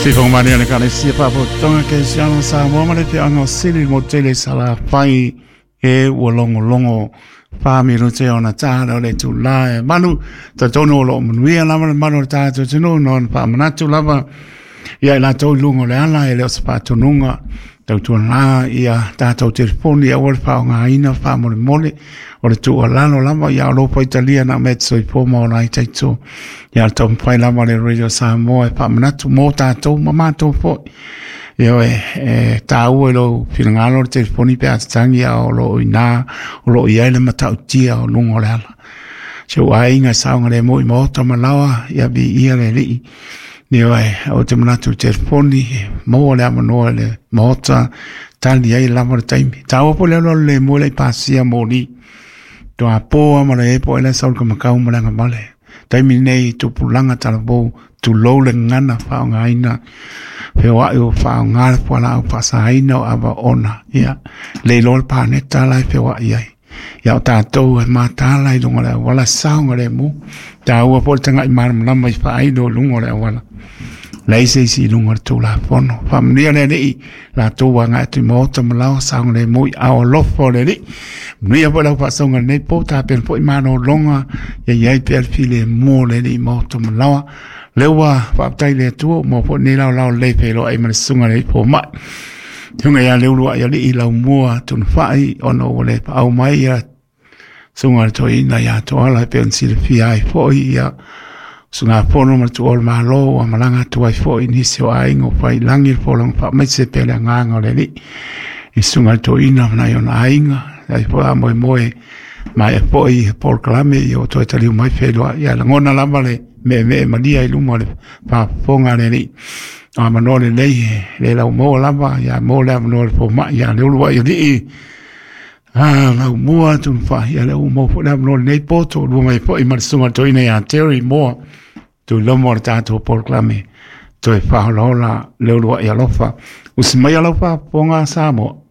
Sifoga le Ekalesia Faapotopotoga Kerisiano o Samoa ma le Afioaga o Sili i le motu tele i Salafai e ua logologo 4 minute ona ta o le itulā e 8. Talitonu o loo manuia lava le malu o le tatou atunuu na ona faamanatu lava ia i latou i luga o le ala, e le o se faatonuga. Tautuana ia tatou telefoni aua le faaaogaina faamolemole. O le tuualalo lava ia o lou faitalia na mea te soifua ma ola ai taito. Ia le taumafai lava le Radio Samoa e faamanatu mo tatou ma matou foi. Ioe, e taua i lou finagalo le telefoni pe a tatagi, a o loo iina o loo i ai le matautia o luga o le ala. Si ou aiga e saogalemu i maota ma laoa, ia viia le Alii. Ioe, o te manatu i telefoni, maua le avanoa i le maota, tali ai lava le taimi. Taua po le alu alu le moe le i pasia moli. Toa pō ma le epo ele saul ka makau ma le agavale. Taimi nei tupulaga talavou, tulou le gagana faaaogaina feoai o faaaoga le fualaau faasaina o ava ona ia le iloa le paneta la e feoai ai. Ia o tatou e mataala i luga o le auala saogalemu. Taua foi le tagai malamalama i faailo i luga o le auala. Leai se isi i luga o le Tulafono. Faamanuia le Alii latou agai atu i maota ma laoa saogalemu i ao alofa o le Alii. Manuia foi lau faasoga i lenei po, tapena foi malologa, ia i ai pea le filemu o le Alii i maota ma laoa. Lea ua faafetai le Atua ua maua foi lenei laolao lelei feiloai ma le susuga i le fomai. Susuga ia Leuluai Alii Laumua Tunufai, ona ua le paau mai ia susuga le toeaina ia Toala e pei ona silafia ai foi ia usugafono ma le tuua o le Malo ua malaga atu ai foi nisi o aiga o faiilagi le folauga faamaise pea le agaga o le Alii i susuga le toeaina ma nai ona aiga. Ai foi a moemoe maea foi polokalame ia ua toe taliu mai feiloai. Ia lagona lava le meemee malia i luma o le faafofoga a le Alii. O avanoa lelei le laumaua lava ia mo le avanoa o le fomai ia Leuluai Alii Laumua Tunufai. Ia lea ua maua foi le avanoa lenei po toalua mai foi ma le susuga le toeaina ia Terry Moa tuilomo o le tatou polokalame toe faaolaola. Leuluai alofa, usi mai lau faafofoga Samoa.